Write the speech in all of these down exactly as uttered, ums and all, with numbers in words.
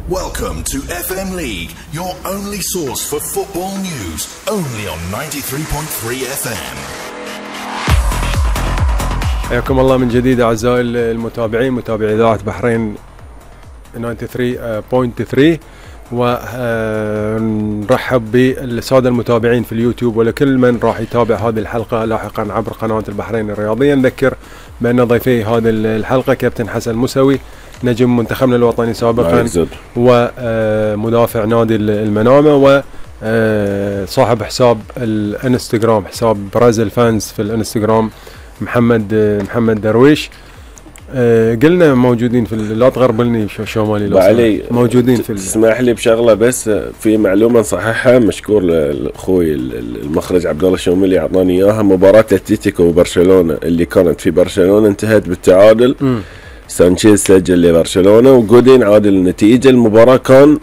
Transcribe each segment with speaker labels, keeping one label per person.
Speaker 1: Welcome to F M League, your only source for football news, only on ninety-three point three F M.
Speaker 2: حياكم الله من جديد أعزائي المتابعين، متابعي إذاعة بحرين ثمانية وتسعين فاصلة ثلاثة، ونرحب بالسادة المتابعين في اليوتيوب ولكل من راح يتابع هذه الحلقة لاحقا عبر قناة البحرين الرياضية. نذكر بأن ضيفي هذه الحلقة كابتن حسن موسوي، نجم منتخبنا الوطني سابقا ومدافع نادي المنامة، وصاحب حساب الانستغرام، حساب برازيل فانز في الانستغرام، محمد محمد درويش. قلنا موجودين في، لا تغربلني شمالي، لا موجودين في.
Speaker 3: تسمح لي بشغله بس، في معلومه صحيحه، مشكور لاخوي المخرج عبد الله الشوملي اعطاني اياها. مباراه اتلتيكو وبرشلونه اللي كانت في برشلونه انتهت بالتعادل. م. سانشيز سجل لبرشلونه وجودين عادل النتيجه. المباراه كان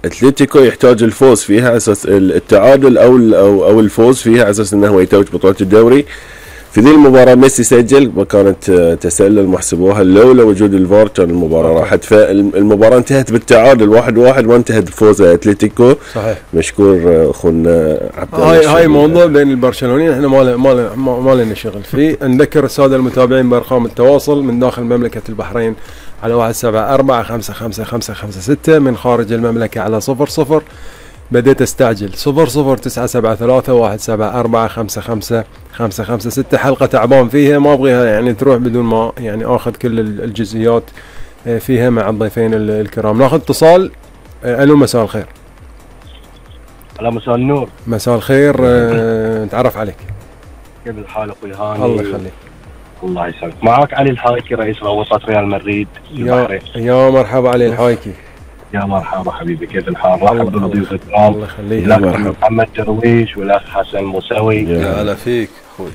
Speaker 3: اتلتيكو يحتاج الفوز فيها على اساس التعادل او او او الفوز فيها على اساس انه هو يتوج بطوله الدوري. في ذي المباراة ميسي سجل وكانت تسلل محسبوها، لولا وجود الفار كان المباراة راحت. فالمباراة انتهت بالتعادل واحد واحد وانتهت بفوز اتلتيكو. صحيح. مشكور اخونا عبد الله.
Speaker 2: هاي هاي موضوع بين البرشلونيين احنا ما ما ما لنا شغل فيه. نذكر السادة المتابعين بارقام التواصل من داخل مملكة البحرين على واحد سبعة أربعة خمسة خمسة خمسة خمسة ستة، من خارج المملكة على صفر صفر. بديت استعجل صفر صفر تسعة سبعة ثلاثة واحد سبعة أربعة خمسة خمسة خمسة خمسة ستة. حلقة تعبان فيها، ما أبغيها يعني تروح بدون ما يعني آخذ كل الجزئيات فيها مع الضيفين الكرام. ناخذ اتصال. ألو، مساء الخير.
Speaker 4: هلا، مساء النور.
Speaker 2: مساء الخير. أه نتعرف عليك.
Speaker 4: كيف الحال أخوي هاني؟
Speaker 2: الله يخليك.
Speaker 4: الله يسلمك. معك علي الحايكي، رئيس روابط ريال مدريد
Speaker 2: البحرين. يا مرحبا علي الحايكي.
Speaker 4: يا مرحبا حبيبي، كيف الحال؟ رحب بالضيوف الكرام.
Speaker 2: الله يخليك.
Speaker 4: محمد درويش والاخ حسن موسوي.
Speaker 5: يا هلا فيك اخوي.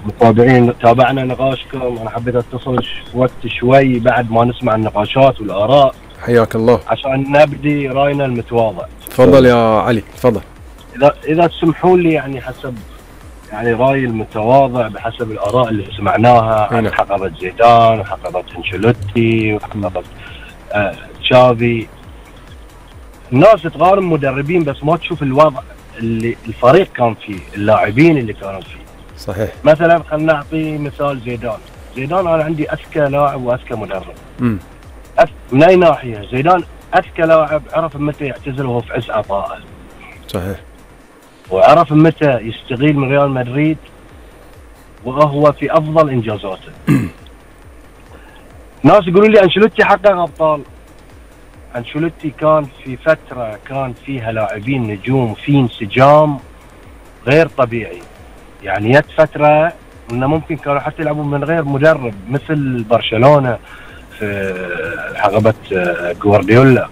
Speaker 4: متابعين، تابعنا نقاشكم. انا حبيت اتصل وقت شوي بعد ما نسمع النقاشات والاراء.
Speaker 2: حياك الله.
Speaker 4: عشان نبدي راينا المتواضع.
Speaker 2: تفضل يا علي، تفضل.
Speaker 4: اذا اذا تسمحوا لي، يعني حسب يعني رايي المتواضع بحسب الاراء اللي سمعناها عن حقبه زيدان وحقبه انشيلوتي وحقبه آه تشافي. الناس تقارن مدربين بس ما تشوف الوضع اللي الفريق كان فيه، اللاعبين اللي كانوا فيه.
Speaker 2: صحيح.
Speaker 4: مثلا خلينا نعطي مثال زيدان. زيدان انا عندي اذكى لاعب واذكى مدرب. امم أف... من اي ناحيه؟ زيدان اذكى لاعب، عرف متى يعتزل وهو في عز عطائه.
Speaker 2: صحيح.
Speaker 4: وعرف متى يستغيل من ريال مدريد وهو في افضل انجازاته. ناس يقولوا لي انشيلوتي حقق ابطال. انشيلوتي كان في فتره كان فيها لاعبين نجوم، في انسجام غير طبيعي. يعني جت فتره انه ممكن كانوا حتى يلعبون من غير مدرب، مثل برشلونه في حقبه جوارديولا.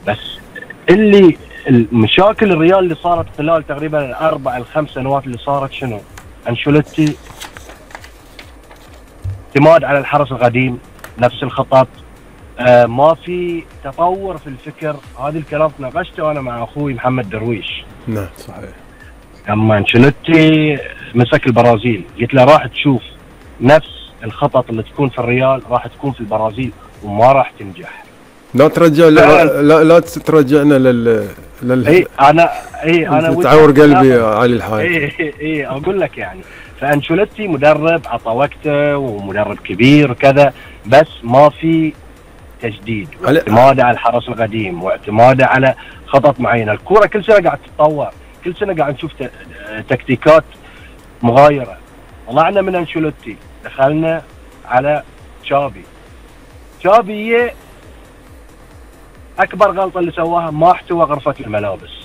Speaker 4: بس اللي المشاكل الريال اللي صارت خلال تقريبا الاربع الخمس سنوات اللي صارت شنو؟ انشيلوتي اعتماد على الحرس القديم، نفس الخطط، آه ما في تطور في الفكر. هذا الكلام ناقشته انا مع اخوي محمد درويش.
Speaker 2: نعم صحيح.
Speaker 4: لما انشيلوتي مسك البرازيل قلت له راح تشوف نفس الخطط اللي تكون في الريال راح تكون في البرازيل وما راح تنجح.
Speaker 2: لا ترجع لا لا, لا ترجعنا لل لل
Speaker 4: اي انا اي انا
Speaker 2: تعور قلبي علي الحاج.
Speaker 4: اي اي اقول لك يعني. فانشيلوتي مدرب عطى وقته ومدرب كبير وكذا، بس ما في تجديد، واعتماده على الحرس القديم واعتماده على خطط معينه. الكوره كل سنه قاعد تتطور، كل سنه قاعد نشوف تكتيكات مغايره. طلعنا من انشيلوتي دخلنا على تشافي. تشافي اكبر غلطه اللي سواها ما احتوى غرفه الملابس.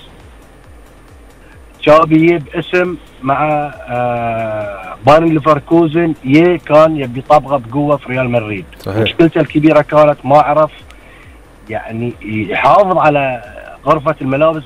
Speaker 4: تشافي باسم مع آه بايرن ليفركوزن يه كان يبي يطبقه بقوه في ريال مدريد. مشكلته الكبيره كانت ما عرف يعني يحافظ على غرفه الملابس.